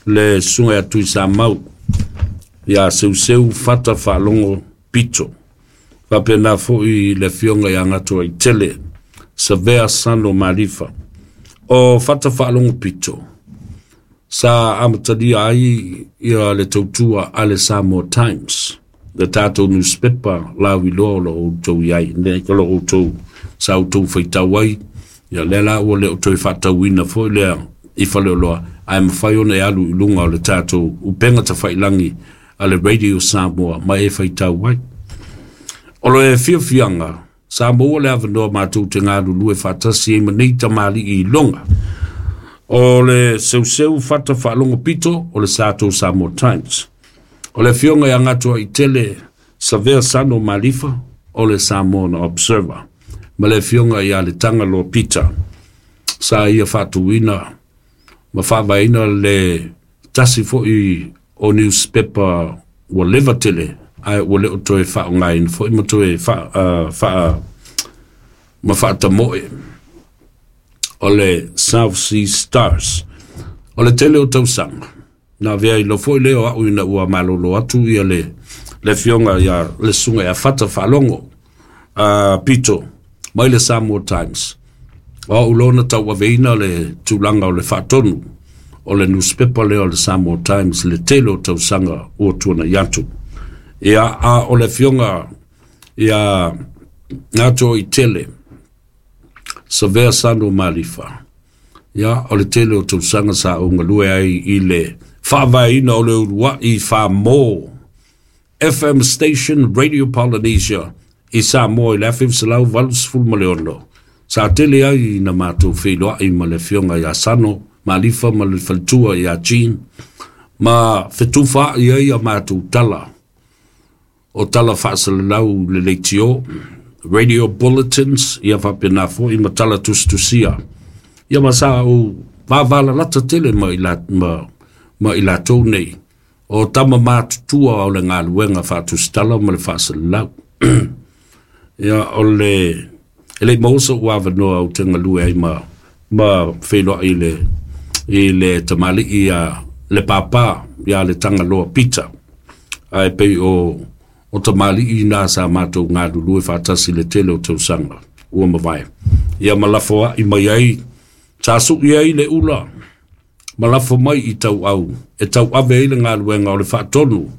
Le susuga ia Tuisamau ia Seuseu Fata Faalogo Pito. Faapena foi le afioga ia Gatoaitele Savea Sano Malifa. O Fata Faalogo Pito sa amatalia ai ia le tautua a le Samoa Times, le tatou newspaper lauiloa o lo o outou i ai nei, o lo o outou sa outou faitau ai. Ia lea la ua le o toe faatauina foi lea i Faleoloa, ae mafai ona e alu i luga o le tatou upega tafailagi a le Radio Samoa ma e faitau ai. O le fiafiaga sa maua le avanoa matou te galulue faatasi ai ma nei tamalii iloga. O le Seuseu Fata Faalogo Pito o le tatou Samoa Times. O le afioga ia Gatoaitele Savea Sano Malifa o le Samoan Observer. Ma le afioga ia Letagaloa Peter sa ia faatuina ma faavaeina le tasi foi o newspaper ua leva tele ae ua le o toe faaaogaina foi ma toe ma faatamoe o le South Sea Stars. O le tele o tausaga na avea i lo foi lea o au ina ua malolo atu ia le afioga ia le susuga ia Fata Faalogo Pito mai le Samoa Times. O au loa na tauaveina le tulaga o le faatonu o le newspaper lea o le Samoa Times le tele o tausaga ua tuanai atu. Ia, a o le afioga ia Gatoaitele Savea Sano Malifa, ia, o le tele o tausaga sa ou galue ai i le faavaeina o le uluai Famo FM Station Radio Polynesia i Samoa i le 1986. Sa tele ai na matou feiloai ma le afioga ia Sano Malifa ma le faletua ia Jean, ma fetufaai ai a matou tala o tala faasalalau le leitio, radio bulletins, ia faapena foi ma tala tusitusia. Ia ma sa ou vavalalata tele ma i latou nei o tama matutua o le galuega faatusitala ma le faasalalau. Ia o le e le maua so'u avanoa ou te galue ai ma feiloai i le tamalii ia le pāpā ia le Tagaloa Peter, ae pei o tamalii na sa matou galulue faatasi le tele o tausaga ua mavae. Ia ma lafoai mai ai, sa sui ai le ula ma lafo mai i tauau e tauave ai le galuega o le faatonu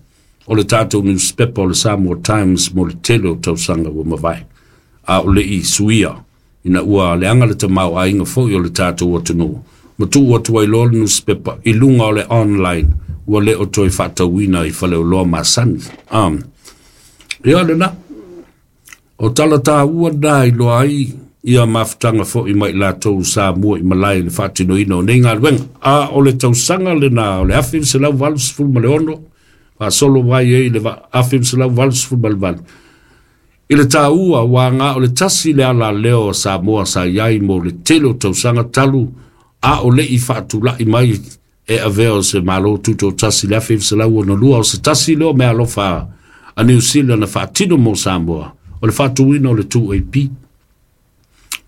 o le tatou newspaper o le Samoa Times mo le tele o tausaga ua mavae. A o le i suia ina ua leaga le tamaoaiga foi o le tatou atunuu, ma tuu atu ai loa le newspaper i luga o le online ua le o toe faatauina i Faleoloa masani. Ia lena, o tala taua na iloa ai ia mafutaga foi mai latou sa mua i malae i le faatinoina o nei galuega. A o le tausaga lena o le 1986 faasolo mai ai le 1988 i le taua ua aga o le tasi le ala leo o Samoa sa i ai mo le tele o tausaga talu a o le i faatulai mai e avea o se malo tutotasi le 1962 o se tasi leo mea alofa a New Zealand na faatino mo Samoa o le faatuina o le 2AP.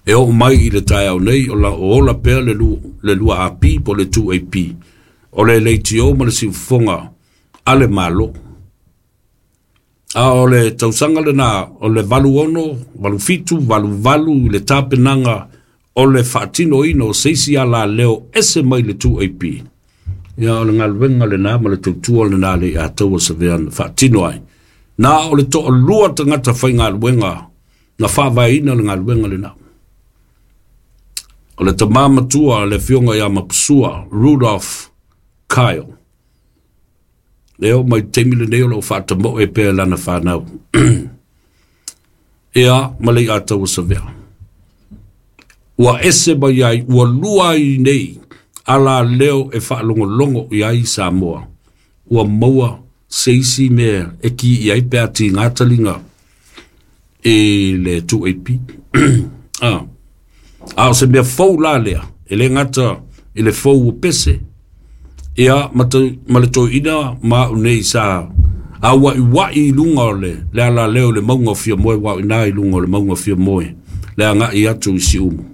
E oo mai i le taeao nei o la o ola pea le 2AP po le 2AP o le leitio ma le siufofoga a le malo. A o le tausaga lena o le 86, 87, 88 i le tapenaga o le faatinoina o se isi ala leo ese mai le 2AP. Ia o le galuega lena ma le tautua lena le ia taua savea na faatino ai. Na o le toalua tagata faigaluega na faavaeina le galuega lena. O le tamā matua le afioga ia Mapusua, Rudolph Kyle. Leo mai taimi lenei o loo faatamoe pea lana whanau. Ia ma le ia taua savea. Ua ese mai ai, ua lua ai nei, ala leo e whaalongolongo i ai Samoa. Ua maua se isi mea e ki i ai pea ti ngā talinga e le 2AP. A o se mea fou la lea, e le ngata i le fou o pese, ia ma le toeina ma au nei sa a wai i lunga o le ala leo le maunga o Fiamoe wa i nā i lunga o le maunga o Fiamoe le agai atu i Siumu.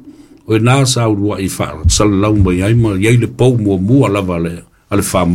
O i nā sa uluai whaasalalau mai ai ma iai le pou mua mua lava le a le whamō.